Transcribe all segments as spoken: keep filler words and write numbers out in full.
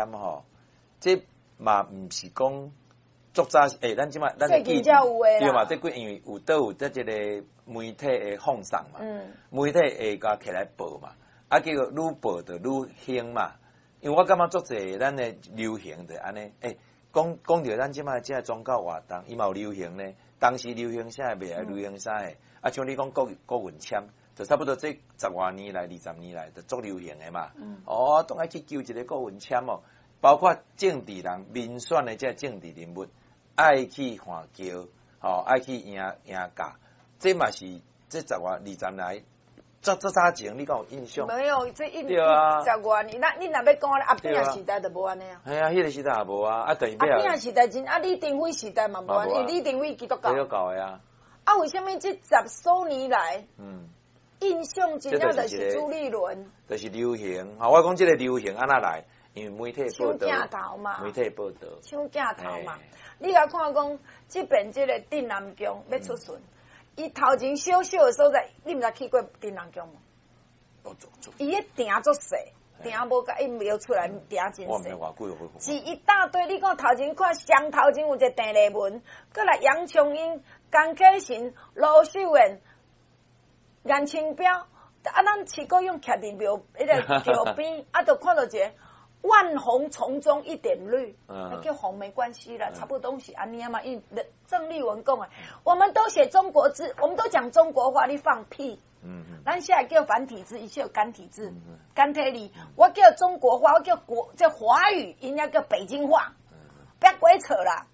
吼，這嘛毋是講足早，欸，咱這擺咱最近才有的。對嘛？這幾因為有都有這這個媒體的放送嘛，嗯，媒體會共起來報嘛，啊，結果愈報就愈興嘛。因為我感覺足濟咱的流行就按呢，欸，講講著咱這擺這個宗教活動，伊嘛有流行呢。當時流行啥，未來流行啥個？啊，像你講郭郭文謙，就差不多這十外年來、二十年來就足流行的嘛。嗯。哦，當愛去求一個郭文謙哦，包括政治人、民選的這政治人物，愛去換轎，吼，愛去贏贏駕，這嘛是這十外二十年來，這這早前你敢有印象？沒有，這一對啊十外年，那你若欲講阿扁時代就無按呢啊。係啊，彼個時代也無啊，啊，等於阿扁時代真啊，李登輝時代嘛無按，嘛無啊。因為李登輝基督教。基督教的啊。啊，為啥物這十數年來，嗯，印象真正就是朱立倫？就是流行。吼，我講這個流行按怎來？因為媒體報搶鏡道，頭嘛，媒體報道，搶鏡頭嘛。你共看講，這邊這個鎮瀾宮欲出巡，伊頭前小小的所在，你毋知去過鎮瀾宮無？哦，足足。伊彼埕足細，埕無共伊描出來，埕真我毋知細。偌久有是一大堆，你看頭前看上頭前有一個鄭麗文，閣來楊瓊英、江啟臣、盧秀燕、顏清標，啊，咱市國勇徛佇廟彼个橋邊，啊，就看到一個萬紅叢中一點綠，嗯叫紅沒關係啦，差不多是按呢嘛。因為鄭麗文講的，我們都寫中國字，我們都講中國話，你放屁！嗯嗯，咱現在叫繁體字，伊叫簡體字嗯，簡體字。我叫中國話，我叫國叫華語，𪜶遐叫北京話，別鬼扯啦！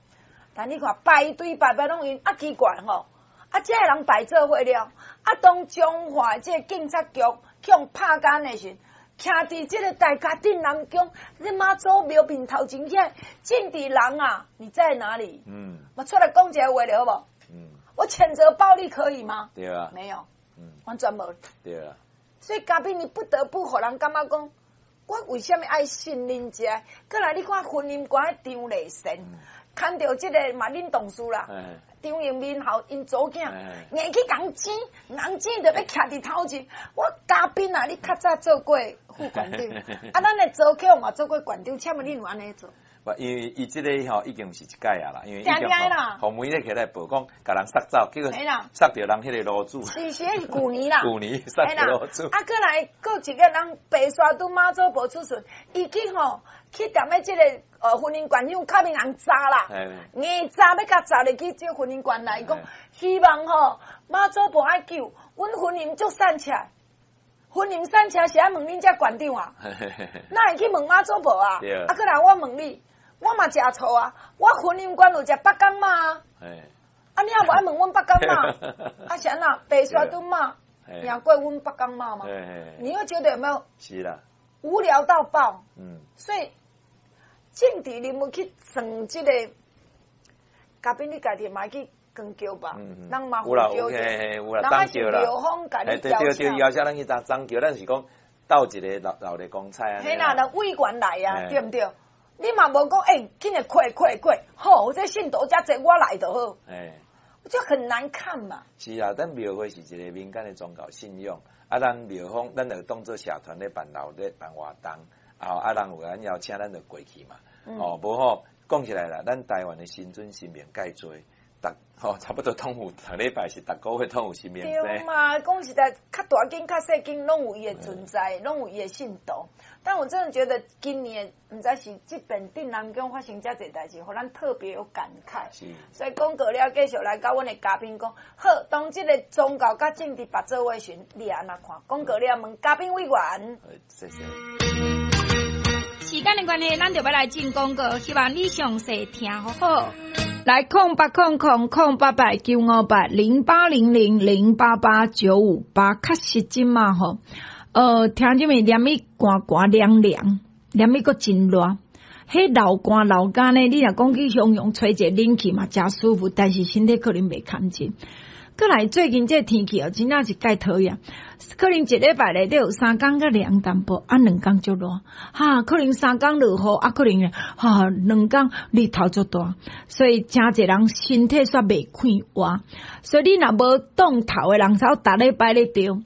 但你看排隊排排攏𪜶啊奇怪吼，啊這个人排做伙了，啊當彰化這個警察局去予拍監的時，徛佇這個大甲鎮瀾宮，你媽祖廟面頭前遐政治人啊，你在哪裡？嗯我出來講一个話了好無？嗯，我譴責暴力可以嗎？對啊，沒有，嗯，完全無。對啊，所以嘉賓，你不得不予人感覺講，我為啥物愛信恁這？閣來你看婚姻觀張麗仙，牽著這个嘛恁同事啦，哎，張榮民吼𪜶祖囝，哎硬去共錢，尪錢就欲徛佇頭前。我嘉賓啊，你較早做過副館長，啊，咱的周克嘛做過館長，請問你有按呢做？無，因為伊這個吼已經毋是一擺啊啦，因為已經定定的啦。予媒體起來報講，共人殺走，結果嘿啦殺著人彼个爐主，是是，彼是舊年啦。舊年殺嘿啦著爐主，啊，閣來閣一個人白沙屯媽祖婆出巡，伊去吼去踮咧這個呃婚姻館向較面人砸啦，硬砸欲共砸入去這個婚姻館內，伊講希望吼媽祖婆愛救，阮婚姻足散赤，婚姻散赤是愛問恁這館長啊？哪會去問媽祖婆啊？對啊，閣來我問你，我嘛食醋啊，我婚姻觀有食北港媽啊，啊你也無愛問阮北港媽，啊是按怎白沙屯媽贏過阮北港媽嗎？你會覺得有沒有？是啦，無聊到爆。嗯，所以政治人物去算這個，嘉賓你家己嘛去扛轎吧，人嘛有啦，有有啦，擋轎啦，廟方共你對對對，邀請咱去擋擋轎，咱是講鬥一个鬧鬧熱光彩啊。嘿啦，人委員來啊，對毋對？你嘛無講，欸，緊來快快快，好，這信徒遮濟，我來就好。欸，就很難看嘛。是啊，咱廟會是一個民間的宗教信仰，啊，咱廟方咱就當做社團咧辦鬧熱辦活動，啊，啊，人有咱邀請，咱就過去嘛。哦，無吼，講起來啦，咱台灣的神尊神明蓋濟，逐吼差不多攏有，逐禮拜是逐個月攏有神明。對嘛，講實在，較大間較細間攏有伊的存在，攏有伊的信徒。但我真的覺得今年毋知是這邊鎮瀾宮發生遮濟代誌，予咱特別有感慨。是。所以講過了，繼續來佮阮的嘉賓講，好，當這個宗教佮政治拔做伙時，你按怎看？講過了，問嘉賓委員。謝謝。時間的關係，咱就欲來進廣告，希望你詳細聽好好。來空八空空空八八九五八零八零零零八八九五八，確實這馬吼。呃，聽這面連伊寒寒涼涼，連伊閣真熱。彼流汗流乾呢，你若講去襄陽吹一个冷氣嘛，誠舒服，但是身體可能袂堪真。閣來最近這個天氣哦，真正是蓋討厭。可能一禮拜內底有三工較涼淡薄，啊兩工足熱。哈，可能三工落雨，啊可能哈兩工日頭足大，所以誠濟人身體煞袂快活。所以你若無凍頭的人，才逐禮拜咧著。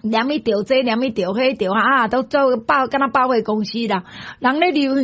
連伊著這，連伊著彼著啊，都做百，敢若百貨公司啦。人咧流行。